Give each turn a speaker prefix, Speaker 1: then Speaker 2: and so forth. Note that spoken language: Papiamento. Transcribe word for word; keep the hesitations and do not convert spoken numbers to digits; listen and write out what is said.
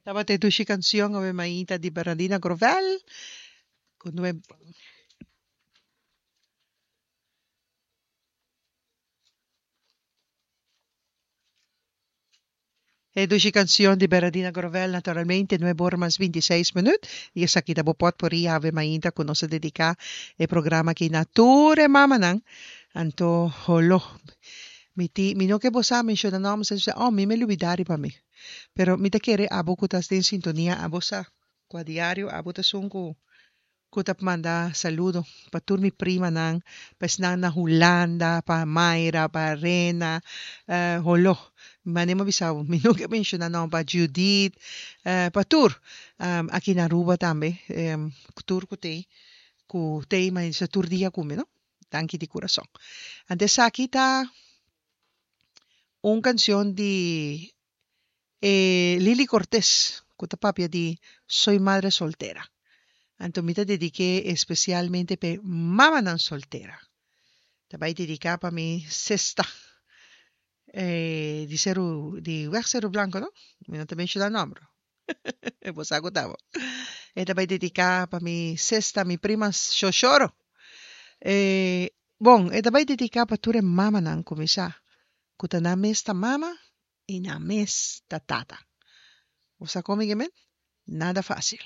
Speaker 1: Tabata e dushi cancion Ave Mainta di Bernardina Grovel cu nuebe. E dushi cancion di Bernardina Grovel naturalmente nuebe ora mas binti seis minuut y esaki ta bo potpourri Ave Mainta cu nos a dedica e programa aki na tur e mamanan anto holo mi ti mi no ke bo sa menciona nomber sa oh mi me lubida riba mi pero mi ta kere abo cu ta den sintonia abo sa cu a diario abo ta esun cu cu ta manda saludo pa tur mi primanan, pa esnan na Hulanda, pa Mayra, pa Rena, holo, mane mi a bisa bo, mi no ke menciona nomber, pa Judith, pa tur, aki na Aruba tambe, tur cu t'ey, cu t'ey ma bisa tur dia cu mi, no. Danki di curason. Anto esaki ta un cancion di e Lily Cortés cu ta papia di Soy madre soltera. Anto mi ta dedique especialmente p'e mamanan soltera. Ta bay dedica pa mi sesta di Seru di weg Seru Blanco no? Mi no ta menciona nomber. Bo sa cu ta bo. E ta bay dedica pa mi sesta, mi prima Shoshoro. E bon, e ta bay dedica pa tur e mamanan cu mi sa cu ta nan mes ta mama y nan mes ta tata. Bo sa con mi ke men? Nada facil.